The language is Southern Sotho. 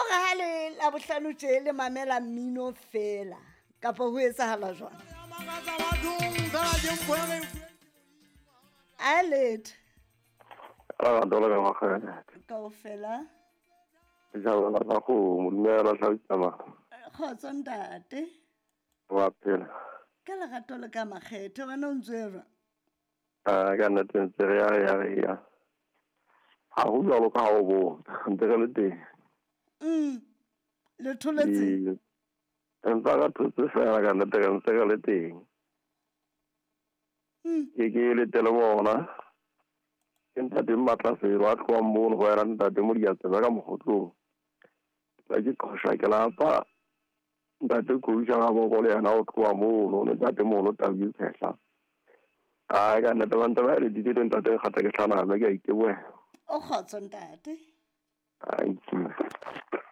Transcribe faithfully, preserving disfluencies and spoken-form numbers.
hore ha le Labohlano tje le mamela mmino fela kapa ho etsahala jwang? A letho. Kaofela. Kgotso ntate. Wa phela. Ka lerato le ka makgethe wena o ntse jwang? Ah, ka nnete ntse re ya re ya re ya. Ha ho jwalo ka ha o bona, ntse re le teng. Mm. Le tholetse? Empa ka thotse fela ka nnete re ntse re le teng. Mm. Ke ke letele bona. Ke ntate Mmatlaselo a tlohang mono ho yena ntate Modiatsebe ka Mokgotlong. Tla ke qosha ke lapa. Ntate Kousha ga boko le yena o tloha mono le ntate mono Tabi Tshehla. Ai ka nnete ba ntse ba le ditete ntate kgata ke hlana ke a itebohela. O kgotso ntate. Thank you.